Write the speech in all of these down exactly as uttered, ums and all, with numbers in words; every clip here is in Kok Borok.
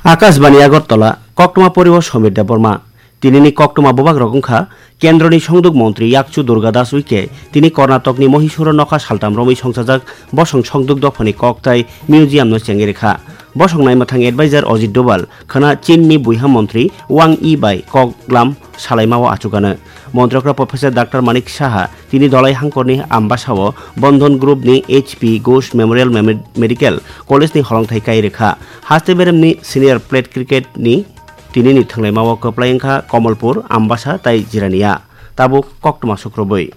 Akashbani Agartala, koktwma poribo Somir Debbarma. Tinini koktwma bubagrok wngkha Kendroni Songduk Montri Yakchu Durga Das Uike, tini Karnatokni Mohisuro nokha saltam romwi songsajak bosong songduk dophani kok tai museum no chengwi rwkha. Bosong naima thang advisor Ajit Doval khwna Chinni buiha montri Wang Yi bai kok glam salaimao achukano. Montrokra Professor Doctor Manik Saha tini Dolai Hangkorni Ambasao Bandhan Group ni H P Ghosh Memorial Mem-, Medical College ni holongthai kai rwkha. Haste beremni senior plate cricket ni tinini thwnglaimao kwplai wngkha Kamalpur, Ambasa tai Jirania. Tabuk koktwma sukrubwi.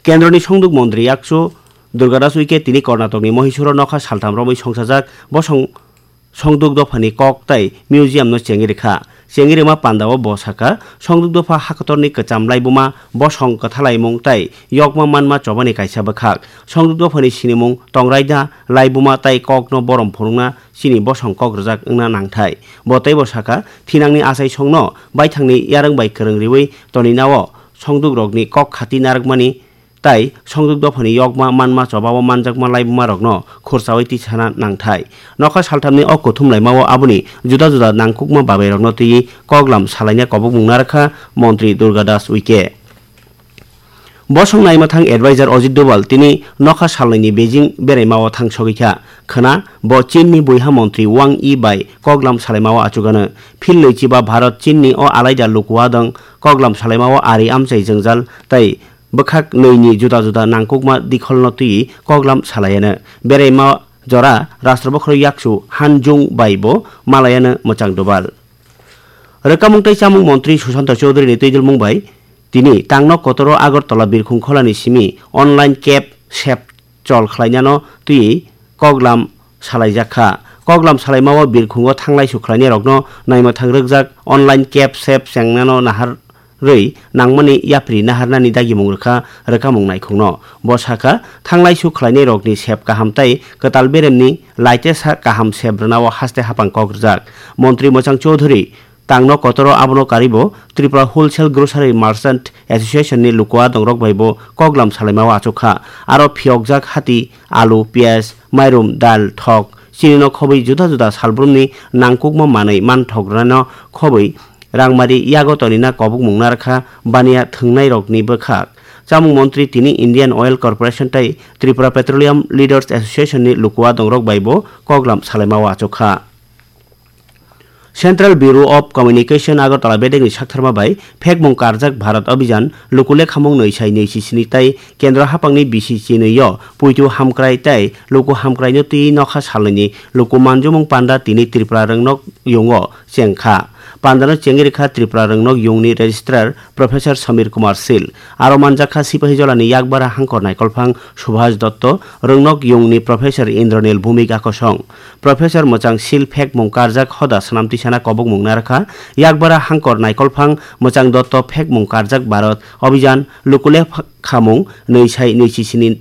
Kendroni Songduk Montri Yakchu Durga Das Uike tini Karnatokni Mohisuro nokha saltam romwi songsajak bosong songduk dophani kok tai museum no chengwi rwkha. Chengwi rwma pandao bo sakha, songduk dopha hakotorni kwcham laibuma, bosong kwthalaimung tai yokma manma chobani kaisa bwkhak. Songduk dophani sinimung tongraida laibuma tai kokno borom phunukna chini bosong kok rwjak wngna nangthai. Bo teibo sakha, thinangni achaisongno baithangni yarwng bai kwrwng riwi toninao songdukrokni kok khati narwkmani tai songduk dophani yokma manma chobao manjakma laibumarokno khursaui tisana nangthai. Nokha salthamni o kuthum laimao aboni juda juda nangkukma babairokno twiwi koklam salaina kobokmung narwkha Montri Durga Das Uike. Bosong naima thang advisor Ajit Doval tini nokha salnaini Beijing beraimao thang sogwi kha. Khwna bo Chinni buiha montri Wang Yi bai koklam salaimao achugano. Phil nwichiba Bharat Chinni o alaida lukuadong koklam salaimao ari amchai jwngjal tai bwkhak nwini juda juda nangkukma dikholno twiwi koklam salayano. Beraima jora Rashtra Bokhorok Yakchu Han Jung bai bo malayano Mwchang Doval. Rwkamung tei chamung montri Sushanta Chowdhury ni twidulmung bai tini tangno kotoro Agartala birkhung kholani simi online cab sep chol khlainano twiwi koklam salaijak kha. Koklam salaimao birkhungo thanglaisu khlainairokno naima thang rwkjak online cab sep chengnano naharwi nangmani yapri naharnani dagimung rwkha rwkamung naikhungno. Bo sakha, thanglaisu khlainairokni sep kaham tai kwtal beremni laitesa kaham sep rwnao haste hapang kok rwjak. Montri Mwchang Chowdhury tangno kotoro abono karibo Tripura Wholesale Grocery Merchant Association ni lukuadongrok bai bo koklam salaimao achukha. Aro phiyokjak hati, alu, piyaj, mairum, dal, thok, chinino khobwi juda juda salbrumni nangkukma manwi manthok rwnano khobwi rangmari yago tonina kobokmung narwkha baniya thwngnairokni bwkhak. Chamung montri tini Indian Oil Corporation tei Tripura Petroleum Leaders Association ni lukuadongrok bai bo koklam salaimao achukha. Central Bureau of Communication Agartala bedekni saktharma bai phekmung karjak Bharat Abhijan luku lekhamung nwi sai nwi sisini tai kendro hapangni bisi chinwi o puitu hamkrai tai luku hamkraino twi nokha salnwini luku manjumung panda tini Tripura rwngnok yungo chengkha. Pandano chengwi rwkha Tripura rwngnok yungni Registrar Professor Samir Kumar Sil. Aro manjakha Sipahijolani yakbara hangkor naikolphang Subhas Dotto, rwngnok yungni Professor Indranil Bhumik Akosong. Professor Mwchang Sil phekmung karjak hoda swnam tisana kobokmung narwkha. Yakbara hangkor naikolphang Mwchang Dotto phekmung karjak Bharat Abhijan luku lekhamung nwi sai nwi sisini